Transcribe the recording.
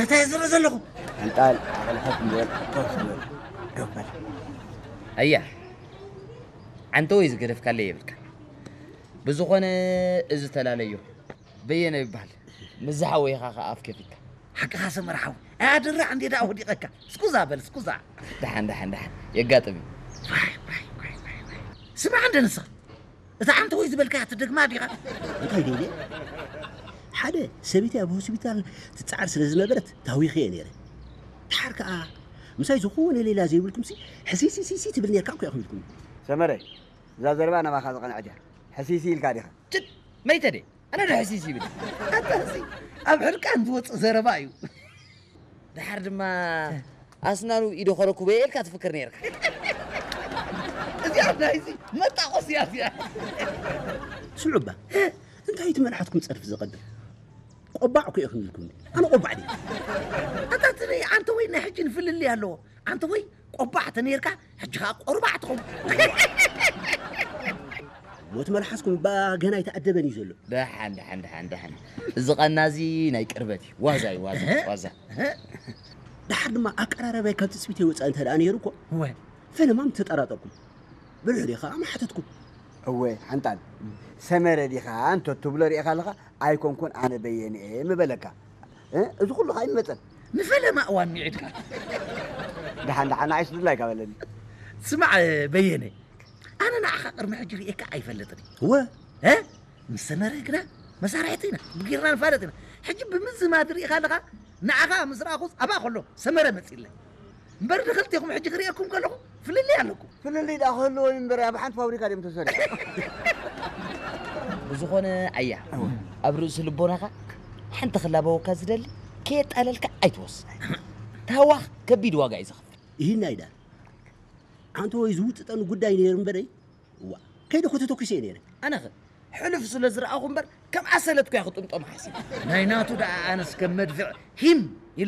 እንታይ ዝርኢ ዘለኹ? ኣንጣል ኣቕልኸት ንበል፣ ኮፍ ንበል። ዶበል። ኣያ፣ ዓንተ ወይ ዝገደፍካለይ የብልካ። ብዝኾነ፣ እዚ ተላለዮ በየነ ይበሃል። ምስ ዝሓወይኻ ኸዓ ኣፍ ከፊትካ። ሓቅኻ ሰመር ሓው። ኣያድራ እንዴ ደኣ ወዲቐካ። ስኩዛ በል፣ ስኩዛ። ደሓን፣ ደሓን፣ ደሓን። የጋጥም እዩ። ዋይ፣ ዋይ፣ ዋይ፣ ዋይ፣ ዋይ። ስማዕ እንደ ንስኻ። እታ ዓንተ ወይ ዝበልካያ ትደግማ ዲኻ? እንታይ ደይለ? ሓደ ሰበይቲ ኣብ ሆስፒታል ትጸዓር ስለ ዝነበረት ታዊኸ እየ ነይረ። ደሓር ከኣ ምሳይ ዝኾነ ሌላ ዘይብልኩምሲ ሕሲሲሲሲ ትብል ነርካ እኮ ኢኹም ኢልኩም። ሰመረ፣ እዛ ዘረባ ናባኻ ዝቐንዐት እያ። ሕሲሲ ኢልካ ዲኻ? ጭድ! መይተ ድየ? ኣነ ዶ ሕሲሲ ይብል? ኣታ እዚ ኣብ ሕርቃን ዝወጽእ ዘረባ እዩ። ደሓር ድማ ኣስናኑ ኢዶ ከረኩበ እየ ኢልካ ትፍክር ነይርካ። እዚኣ ናይዚ መጣቆስ እያ እዚኣ። ስምዑ እባ፣ እንታይ እቲ መልሓትኩም ጸርፊ ዘቐብል? ቆባዕ እኮ ኢኹም ኢልኩም። ኣነ ቆባዕ ድየ? ኣታ እቲ ናይ ኣንተ ወይ ናይ ሕጂ ንፍልልይ ኣለዎ። ኣንተ ወይ ቆባዕ ተነይርካ፣ ሕጂ ኸኣ ቆርባዕ ትኸውን። ሞት መልሓስኩም እባ ገና ኣይተኣደበን እዩ ዘሎ። ደሓን፣ ደሓን፣ ደሓን፣ ደሓን። እዚ ቐና እዚ ናይ ቅርበት እዩ። ዋዛ እዩ፣ ዋዛ፣ እህ? ዋዛ። እህ? ደሓር ድማ ኣቀራረባይ ካብ ትጽቢተይ ወጻኢ እንተ ደኣ ነይሩ እኮ፣ እወ። ፈለማ ምተጠራጠርኩም። ብልሕ ዲኻ? ምሓተትኩም። እወ፣ ሓንጣል። ሰመረ ዲኻ? እንተ ትብሎ ርኢኻ ኣለኻ? ኣይኮንኩን፣ ኣነ በየነ እየ ምበለካ። እ? እዚ ኩሉ ኸኣ ይመጸን። ንፈለማ እዋን ሚዒድካ። ደሓን፣ ደሓን፣ ንዓይስ ድላይካ በለኒ። ስማዕ፣ በየነ፣ ኣነ ንዓኻ ቅድሚ ሕጂ ርእየካ ኣይፈልጥን እየ። እወ። እ? ምስ ሰመረ ግና መሳርሕቲ ኢና፣ ብጊርና ንፋለጥ ኢና። ሕጂ ብምዝማድ ርኢኻ ኣለኻ፣ ንዓኻ ምስ ረኣኹስ ኣብኣ ከሎ ሰመረ መጺለይ። እምበር ንኽልቴኹም ሕጂ ክርእየኩም ከለኹ ፍልልይ ኣለኩም። ፍልልይ ደኣ ክህልዎ እዩ እምበር ኣብ ሓንቲ ፋብሪካ ድዮም ተሰሪሖም። ብዝኾነ ኣያ፣ እወ። ኣብ ርእሲ ልቦናኻ ሓንቲ ክላበወካ ዝደሊ ከየጣለልካ ኣይትወስን። ታዋኽ ከቢድ ዋጋ እዩ ዘኽፍል። ይህን ኣይዳር። ኣንተ ወይ ዝውጥጠኒ ጉዳይ ነይሩ እምበረይ፣ እዋ፣ ከይደ እኮ ተተኲሰ እየ ነይረ። ኣነኸ ሕሉፍ ስለ ዝረኣኹ እምበር ከም ኣሰለት እኮ እያ ክጥምጦም ሓሲብ። ናይ ናቱ ደኣ ኣነስ ከም መድፍዕ ሂም ኢለ